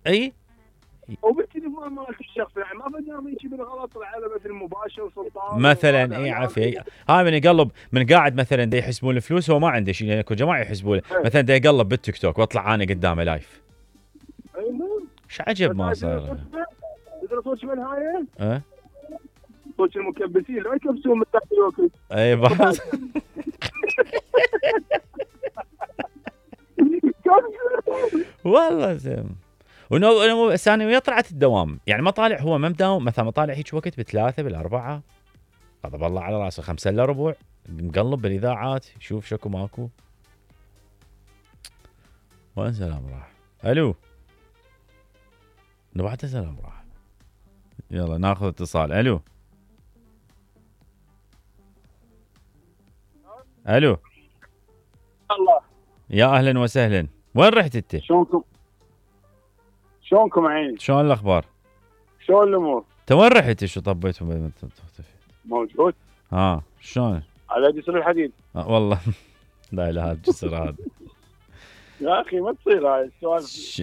اي وبالتليفون مالك الشخصي، يعني ما بدنا يجي بالغلط على مثل مباشر سلطان مثلا. اي عافيه هاي من يقلب من قاعد مثلا دا يحسبون الفلوس، هو ما عنده شيء، اكو جماعه يحسبون له مثلا دا يقلب بالتيك توك واطلع انا قدامه لايف. ايش عجب ما صار. تدري صوت من هاي؟ اه صوت المكبسين لا يكبسون من تحت الوقت. اي بس والله زين. ونو ثاني طلعت الدوام، يعني ما طالع هو ما مداوم مثلا، ما طالع هيك وقت ب3 ب4 غضب الله على راسه 5 الا ربع مقلب بالاذاعات يشوف شكو ماكو. وين سلام راح؟ الو بعد سلام راح. يلا ناخذ اتصال. الو الو الله يا اهلا وسهلا. وين رحت انت؟ شلونكم عيني؟ شلون الاخبار؟ شلون الامور؟ انت وين رحت؟ شو طبيت وما تختفي؟ موجود. شلون؟ على جسر الحديد. والله لا اله الجسر هذا يا اخي ما تصير هاي السوالف.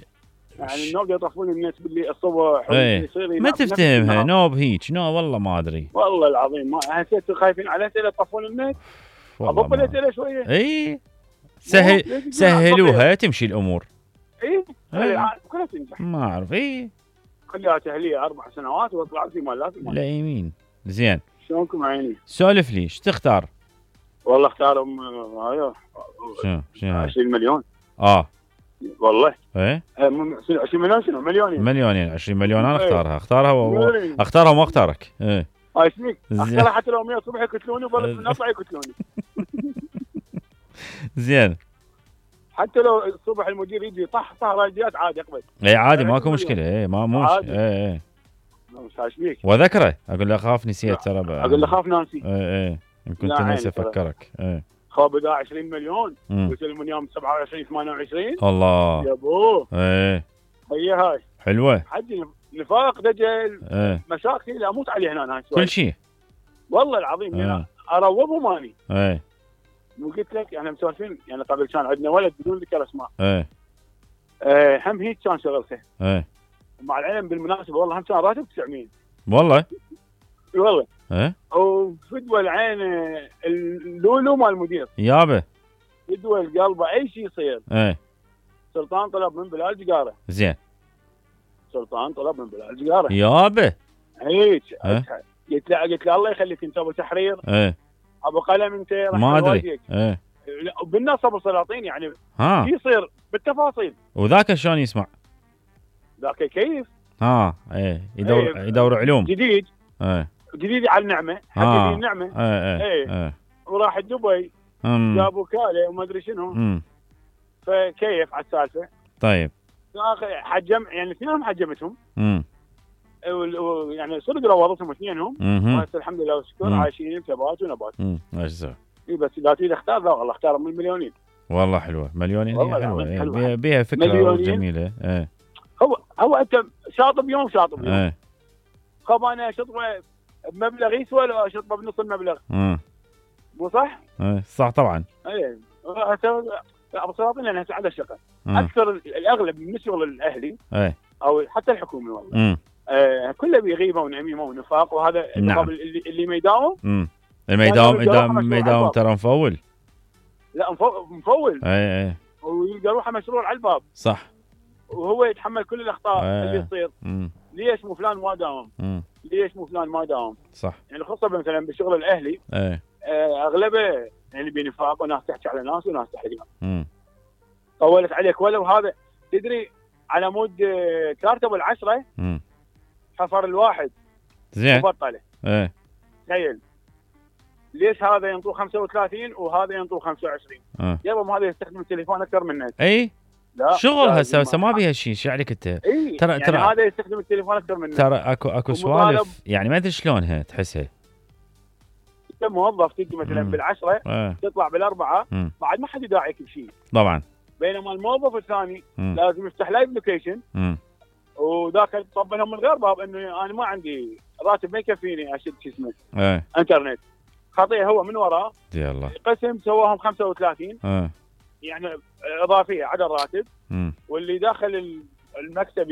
يعني النوب يطفون الناس باللي الصبح يصير ما تفتهمها نوب هيك نو والله ما ادري والله العظيم. ما حسيت خايفين على اسئله يطفون النت. اضب الاسئله شويه. اي سهلوها تمشي الامور. اي كلها تنجح. ما اعرف. اي خليها تهليه 4 سنوات واطلع في مالات لا يمين. زين شلونكم عيني؟ سولف لي ايش تختار؟ والله اختار شو 20 مليون. والله ايه 20 مليون شنو مليونين 20 مليون انا اختارها وما اختارك. ايه ايش فيك؟ اختارها حتى لو 100 الصبح يقتلوني وبلد نطلع يقتلوني. زين حتى لو الصبح المدير يجي طح راديات عادي اقبل. اي عادي ماكو مشكله. ايه ما موش. ايه ايش فيك؟ وذكره اقول له اخاف نسيت ترى اقول له خاف ناسي. ايه ان كنت ناسي افكرك. ايه خاب اذا 20 مليون ويسلمون يوم 27 28. الله يا ابوه. ايه هاي حلوه. حجي نفاق دجل. مشاكل اموت عليه هنا هاي كل شيء والله العظيم. يعني اروضهم اني. ايه وقلت لك احنا مسولفين يعني قبل كان عندنا ولد بدون ذكر اسماء. هم هيك كان شغلته. مع العلم بالمناسبه والله هم كان راتب 900. والله وفدوى العين اللولو مال المدير يابا فدوى القلبه اي شيء يصير. سلطان طلب من بلال جقاره. زين سلطان طلب من بلال جقاره يابا هيك. قلت له الله يخليك انت ابو تحرير. ابو قلم انت ما ادري. بالنص ابو سلاطين يعني شو يصير بالتفاصيل. وذاك شلون يسمع؟ ذاك كيف. يدور علوم جديد. جديد على النعمه. حق النعمه. وراح دبي جاب وكاله وما ادري شنو. فكيف على السالفه. طيب حجم يعني اثنينهم حجمتهم. يعني صدق روضتهم اثنينهم. بس الحمد لله والشكر عايشين ثبات ونبات. بس لا تريد اختار لا والله اختار من المليونين. والله حلوه مليونين هي حلوه بيها فكره جميله. هو انت شاطب يوم شاطب يوم. خب انا شطبه بمبلغ يسوى ولا شطبه بنص المبلغ. مو صح؟ صح طبعا. ابو سلاطين لان هسه على الشغل اكثر الاغلب من الشغل الاهلي او حتى الحكومي والله كله بغيبه ونميمه ونفاق وهذا. نعم. اللي ما يداوم ما يداوم ترى مفول. لا مفول. اي ويلقى روحه مشروع على الباب. صح. وهو يتحمل كل الاخطاء اللي تصير. ليش مو فلان ما داوم؟ ليش مو فلان ما داوم؟ صح. يعني خاصه مثلا بالشغل الاهلي اغلبه يعني بنفاق وناس تحكي على ناس وناس تحرقها. طولت عليك ولو هذا تدري على مود كارت بالعشرة حفر الواحد زين وبطله. تخيل ليش هذا ينطوه 35 وهذا ينطوه 25؟ يابا هذا يستخدم التليفون اكثر منك. اي شغل هسه ما بيها شيء. شو عليك انت؟ ترى يعني هذا يستخدم التليفون اكثر منك. ترى اكو سوالف يعني ما ادري شلونها تحسها. انت موظف تجي مثلا بالعشرة تطلع بالاربعه بعد ما حد يداعيك بشيء طبعا. بينما الموظف الثاني لازم يفتح لايف لوكيشن وذاك طبنهم من غير باب انه انا ما عندي راتب ما يكفيني اشد شو اسمه انترنت. خطيه هو من وراه يلا قسم سواهم 35 يعني اضافيه على الراتب واللي داخل المكتب